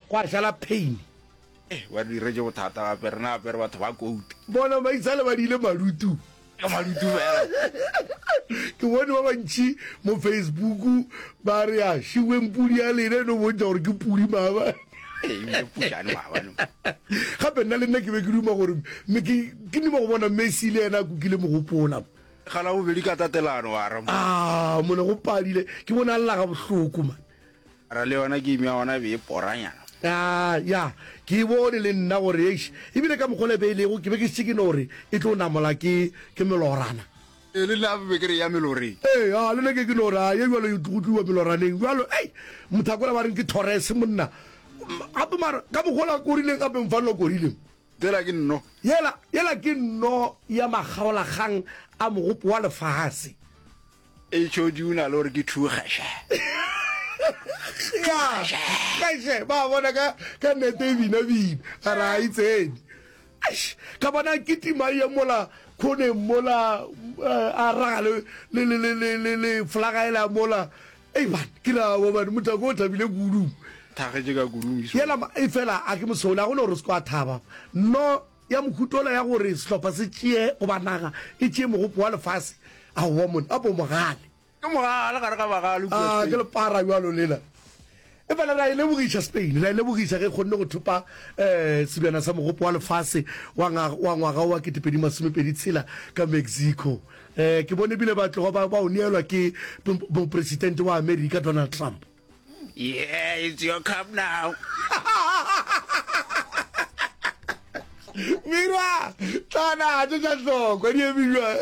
Gwa šala pain. Eh, ba re diretše bothata gape, rena gape re batho ba kouta. Bona maitsale ba diile malutu. Ke malutu fela. Ke bone ba bantši mo Facebook ba re a šiweng pudi ya lena e no bontšha gore ke pudi maabane. Ee, ebile putšane maabane. Gape nna le nna ke be ke duma gore ke ke duma go bona Messi le yena a kukile mogopola. Ga la bobedi ka tatelano wa re. Ah, mone go padile. Ke bone a lla ga bohloko man. Mara le yona game ya gona e be e poranyana. Ah, ya, ke e bone le nna gore eish, ebile ka mokgwa o le be e lego, ke be ke šetše ke no re e tlo namola ke, ke melorana. Ee, le nna be ke re e ya meloreng. Ee, a, le nna ke ke no re, a, ye bjalo e go tliwa meloraneng. Bjalo, ei, mothakola ba reng ke Torres, monna. Gape mara, ka mokgwa o la korileng gape mfana o korileng. Yela ke nno. Yela, yela ke nno ya makgaolakgang a mogopo wa lefase. HOD o na le gore ke thugeše. Ya, geše, ba bona ka, ka nete e bina bina, a re a e tsene. Eish, ka bona kitima ye mola khoneng mola, eh, a raga le, le, le, le, le, le, le flaga ela mola. Ei man, ke ra wa man, mothako o thabile kudu. Thagetše ka kudu Miso. Yela, e fela a ke mosole, a gona gore o se kwa thaba. No, Ya mohuta ola ya gore sehlopha se tšee goba naga e tšee mogopo wa lefase, aowa monna, apo mogale. Ke mogale gare ga bagale kua Ah, Spain. ke lepara bjalo lela. Efela re a e lebogiša Spain, re a e lebogiša ge e kgonne go thopa um sebjana sa mogopo wa lefase wa wa ngwaga wa 2026 ka Mexico. Um ke bone ebile ba tloga ba, ba o neelwa ke mopresidente wa Amerika Donald Trump. Yeah, it's your cup now. Mira, tlana tše tša hlokwa di eme bjang?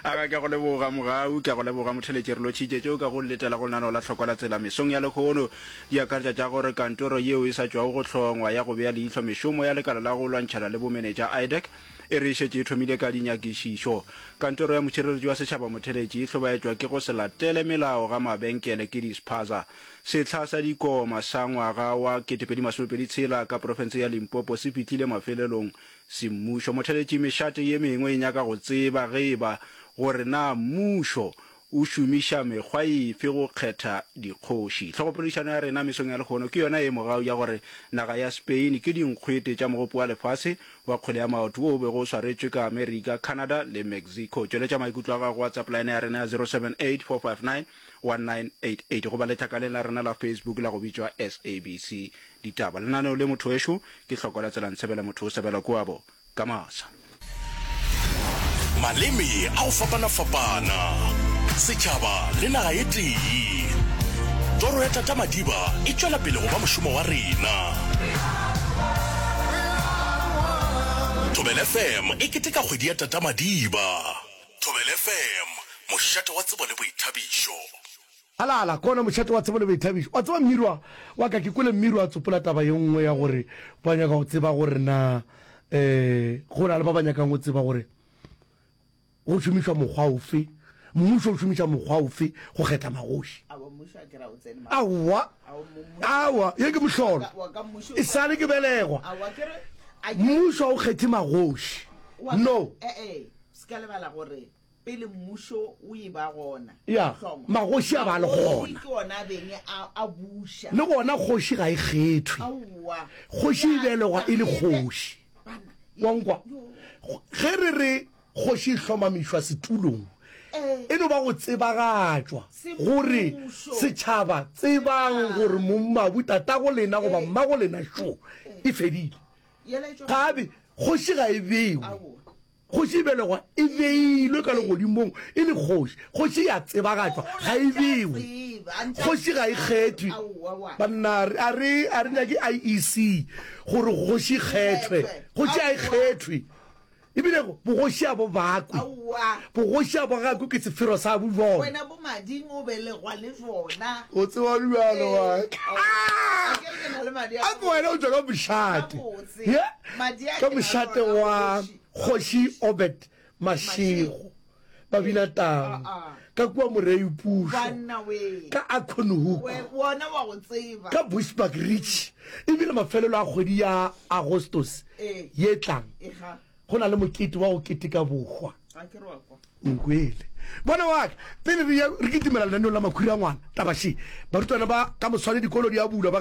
Aga ke go leboga mogau, ke go leboga motheletši re lotšhitše tšeo ka go letela go lenaneo la hlokwa la tsela mesong ya lehono. Di akaretša tša gore kantoro yeo e sa tšwago go hlongwa ya go bea leihlo mešomo ya lekala la go lwantšhana le bomenetša IDAC e re e šetše e thomile ka dinyakišišo. Kantoro ya Mošireletši wa Setšhaba Motheletši e hlobaetšwa ke go se latele melao ga mabenkele ke di-spaza. Sehla sa dikoma sa ngwaga wa 2026 ka profense ya Limpopo se fihlile mafelelong semmušo. Motheletši mešate ye mengwe e nyaka go tseba ge e ba gore na mmušo O šomiša mekgwa efe go kgetha dikgoši? Hlogopoledišano ya rena mesong ya lehono ke yona ye mogau ya gore naga ya Spain ke dinkgwete tša mogopo wa lefase wa kgwele ya maoto wo o bego o swaretšwe ka Amerika, Canada le Mexico. Tšweletša maikutlo a gago go WhatsApp line ya rena ya 0784591988 goba letlakaleng la rena la Facebook la go bitšwa SABC Ditaba. Lenaneo le motho wešo ke Hloko la Tsela Ntshebela motho o sebela kuabo. Ka masa. Maleme a go fapana-fapana, setšhaba le naga e tee. Toro ya Tata Madiba e tšwela pele go ba mošomo wa rena. Thobela FM e keteka kgwedi ya Tata Madiba. Thobela FM, mošate wa tsebo le boithabišo. Halala, ke ona mošate wa tsebo le boithabišo. Wa tseba Mmirwa wa ka, ke kwele Mmirwa a tsopola taba ye nngwe ya gore ba nyaka go tseba gore na um go na le ba ba nyakang go tseba gore go šomišwa mokgwa ofe, mmušo o šomiša mokgwa ofe go kgetha magoši. Aowa, aowa, ye ke mohlolo. E sale ke belegwa, mmušo ga o kgethe magoši. No. Pele mmušo o e ba gona, Ya, o hlongwa, magoši a ba le magoši gona. ke ona a beng a, a buša. Le gona kgoši ga e kgethwe. Aowa. Kgoši e Ya, belegwa e le e be, kgoši. bana, ye, Wa nkwa? yo. Ge re re kgoši e hlomamišwa setulong, Eh. e no ba go tsebagatšwa gore Semmušo. setšhaba tsebang gore mongmabu tatago lena goba Eh. mmago lena šo e fedile. Yela e tšwa Gabe kgoši ga e bewe. Aowa. Kgoši e belegwa e beilwe ka legodimong e le kgoši. Kgoši e a tsebagatšwa, ga e bewe. Kgoši ga e kgethwe. Banna, a re, a re nyake IEC gore kgoši e kgethwe. Kgoši ga e kgethwe. Ebile bogoši a bo bakwe. Bogoši a bo gakwe ke sefero sa bo bjona. Wena bo mading o belegwa le jona. O tseba bjalo wa ka. A ke wena o tšwa ka mošate. Ka mošate wa. Kgoši Obed Mashego, Babinatau, ka kua Moreipušo, ka Acornhoek, ka Bushbuckridge, e bile mafelelo a kgwedi ya Agostose ye tlang, go na le mokete wa go keteka bohwa. Nkwele. Bona wa ka, pele re ya re kitimela lenaneong la makhura a ngwana, taba še, barutwana ba ka moswane dikolo di a bulwa, ba.